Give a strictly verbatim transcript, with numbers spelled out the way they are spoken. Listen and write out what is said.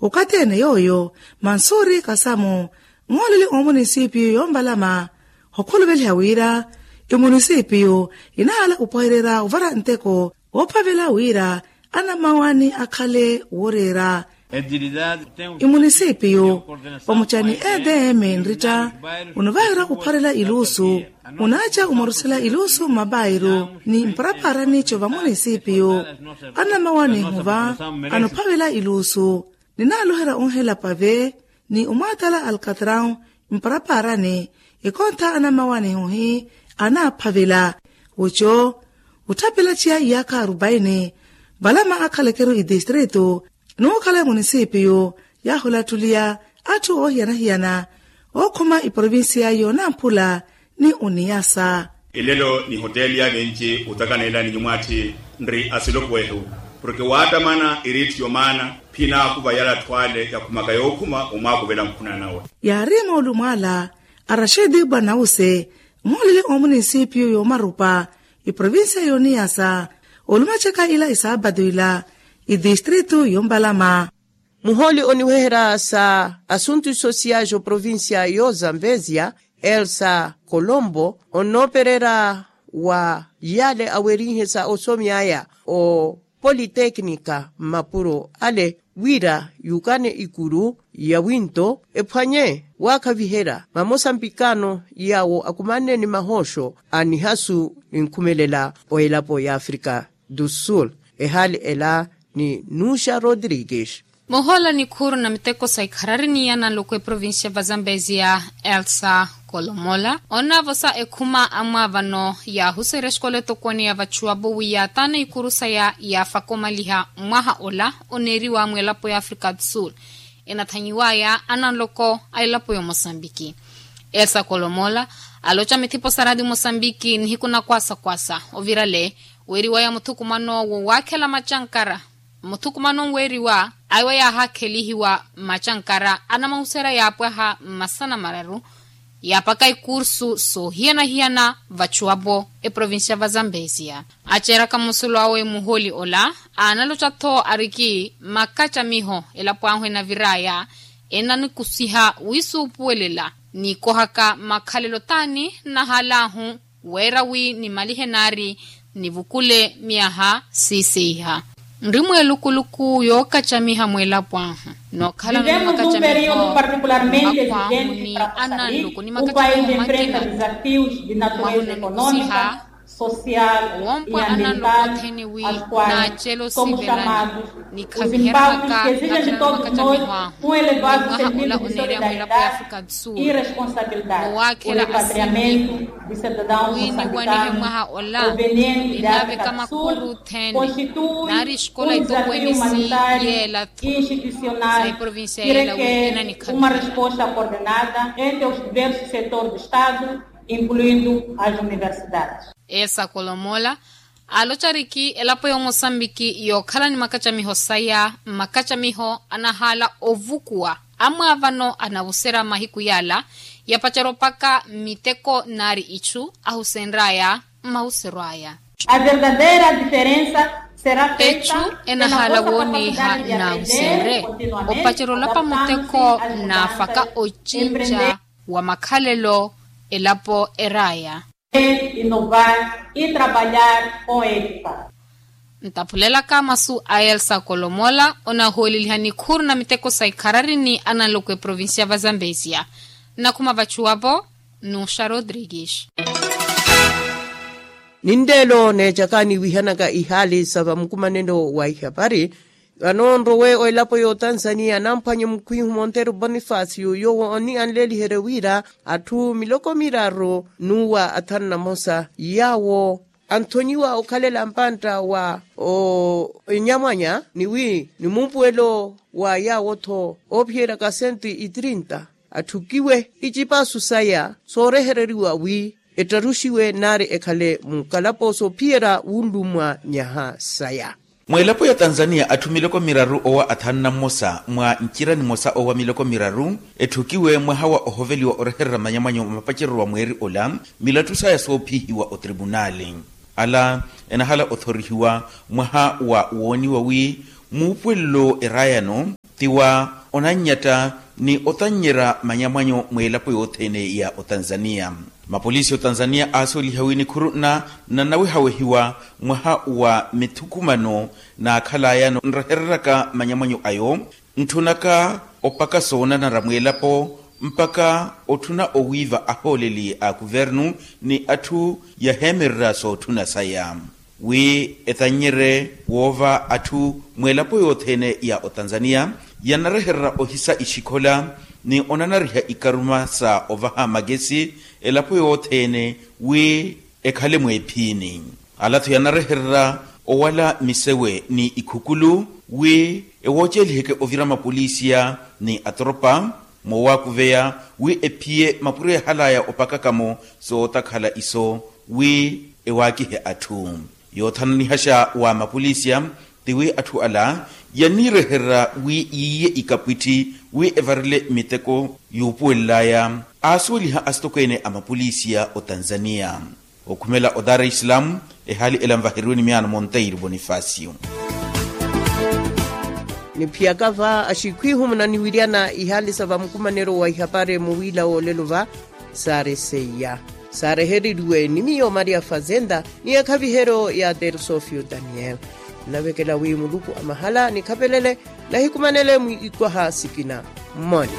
Okathi ene yooyo, mansuri kasamu, nhooleli omunisipiyu yombalama, okhuluveliha wira emunisipiyu inahala opwehererya ovara nteko woophavela wira anamawani akhale wooreera. Emunisipiyu omucani edm nritta unovaherya opharela iluusu, unaaca omorusela iluusu mmapairu ni mparapaarani co vamunisipiyu. Anamawani ehuva anophavela iluusu, ninaloherya onhela pave ni omwaatala alkatrau mparapaarani, ekontha anamawani ehuhi anaaphavela. Oco otthapela ciya iyaakha arupaini valama akhalekeru itistritu, n'ukhala emunisipiyu yaahulattuliya atthu oohiyana-hiyana ookhuma iprovincia yoonamphula ni oniyasa. Elelo ni hoteli ya venci otakana ela ni nyumwaatthi nri asilopuwehu, porke waatamana iriitthu yomaana phinaakuva yala atthu ale yakhumaka yookhuma omwaakuvela nkhuna nawe. Yaari moolumo ala a rashidi bwanawuse, nhooleli omunisipiyu yoomarupa iprovincia yooniyasa, olumacaka ila isaapatu ila itistritu yompalama. Muhooli oniweherya sa asuntu sosiais oprovincia yozamvezia, elsa colombo, onoopererya wa yale awerihe sa osomyaya o politeknika mmapuro ale wira yukane ikuru ya winto ephwanye waakhaviherya mamosambikano yawo akumanne ni mahooxo a nihasu ninkhumelela o elapo ya afrika du sul. Ehaali ela ni nuxa rodrigues. Muhoola nikhuuru na miteko sa ikharari ni ananloko eprovincia va zambezia, elsa kolomola onavosa ekhuma amwaavano yaahuserya exikola etokoni ya vachuwapo wi yaataana ikuru saya yaafaka omaliha mwaha ola oneeriwa mwelapo ya afrika du sul. Enathanyiwaya ananloko a elapo ya omosambiki. Elsa kolomola aloca mithipo sa radi mosambiki nihiku na kwasakwasa ovirale weeriwaya muthukumano wo waakhela macankara. Muthukumano nweeriwa aiwa yaahakhelihiwa macankara anamahuserya yaapwaha mmasana mararu yaapaka ikursu soohiyana-hiyana vachuwapo eprovincia va zambezia. Aceeraka musulu awe muhooli ola aanaloca-tho ariki makacamiho elapo ahu enaviraya enanikusiha wisuupuwelela nikohaka makhalelo taani nnahaalahu weera wi nimalihe naari nivukule myaha siiseiha. Nri mweelukuluku yookacamiha mwelapo ahu nookhalano ni makacamiho akhwahu ni ananloko ni makacamiho makina. Mwahu nanikusiha woompwa ananloko othene wi naacela osivelani nikhaviheraka nakhalano makacamiho ahu ni mwaha ola oneereya mwelapo ya afrika du sul. Nowaakhela asivili wi niwanihe mwaha ola ninaaveka makuru othene naari exikola itokweni si yeela-tho sa eprovincia yeela wi enanikhamiha. Incluindo as universidades. Esa kolomola aloca ariki elapo ya omosambiki yookhala ni makacamiho saya makacamiho anahaala ovukuwa amwaavano anavuserya mahiku yaala yapacerya opaka miteko naari ichu ahusenryaya mmahuseryo aya. Echu enahaala wooniha naahusenrye opacerya olapa muteko naafaka ocinca wa makhalelo elapo eraya. Inovar e trabalhar com etika. Ntaphulelaka masu a elsa kolomola onahooleliha nikhuuru na miteko sa ikharari ni ananloko eprovincia va zambezia. Nnakhuma vachuwapo nuxa rodrigues. Ninleelo neecaka niwihanaka ihaali sa vamukumanelo wa ihapari. Vano nrowe o elapo y'otanzania namphwanye mukhwihu monteiro bonifacio yoowo onianleeliherye wira atthu miloko miraru n'uwa athanu na mosa yaawo anthonyiwa okhalela mpantta wa onyamwanya ni wi ni muupuwelo wa yaawo-tho oophiyeraka sento itrinta atthukiwe icipaasu saya soorehereriwa wi ettaruxiwe naari ekhale mukalapooso ophiyerya wunlummwa nyaha saya. Mweelapo ya tanzania atthu miloko miraru owa athanu na mmosa mwa ncira nimosa owa miloko miraru etthukiwe mwaha wa ohoveliwa orehererya manyamwanyo mapacereryo wa mweeri ola milattu saya soophihiwa otripunaali. Ala enahala othorihiwa mwaha wa wooniwa wi muupuwelelo erayano Tiwa onannyetta ni otannyerya manyamwanyu mweelapo yothene ya otanzania. Mapolisi otanzania aasuweliha wi nikhuru nna nnawehawehiwa mwaha wa mithukumano naakhalaya nrehereraka manyamwanyu ayo, ntthunaka opaka soonanara mweelapo mpaka otthuna owiiva ahooleli a kuvernu ni atthu yaheemererya sootthuna saya wi etannyerye woova atthu mweelapo yothene ya otanzania yanarehererya ohisa ixikhola ni onanariha ikaruma sa ovaha makesi elapo yothene wi ekhale mweephiini. Ala-tho yanarehererya owala misewe ni ikhukulu wi ewooceliheke ovira mapolisiya ni atoropa moowakuveya wi ephiye mapuro yahalaya opakaka-mo sootakhala iso wi ewaakihe atthu. Yoothananihaxa wa mapolisiya tiwi atthu ala yaniirehererya wi yiiye ikapwitthi wi evarele miteko yuupuwelelaya aasuweliha asitokweene a mapolisiya otanzania. Okhumela o dar es salaam ehaali ela nvaheriwe ni miyaano monteiro bonifacio. Niphiyaka va axikhwihu munaniwiryana ihaali sa vamukumanelo wa ihapari muwiila woolelo va saari seiya saarehereriwe ni miyo maria fazenda ni ekhaviheryo ya tersofio daniel. Nnavekela wi muluku a mahala nikhapelele nahikumanele mwiikwaha sikina mmoni.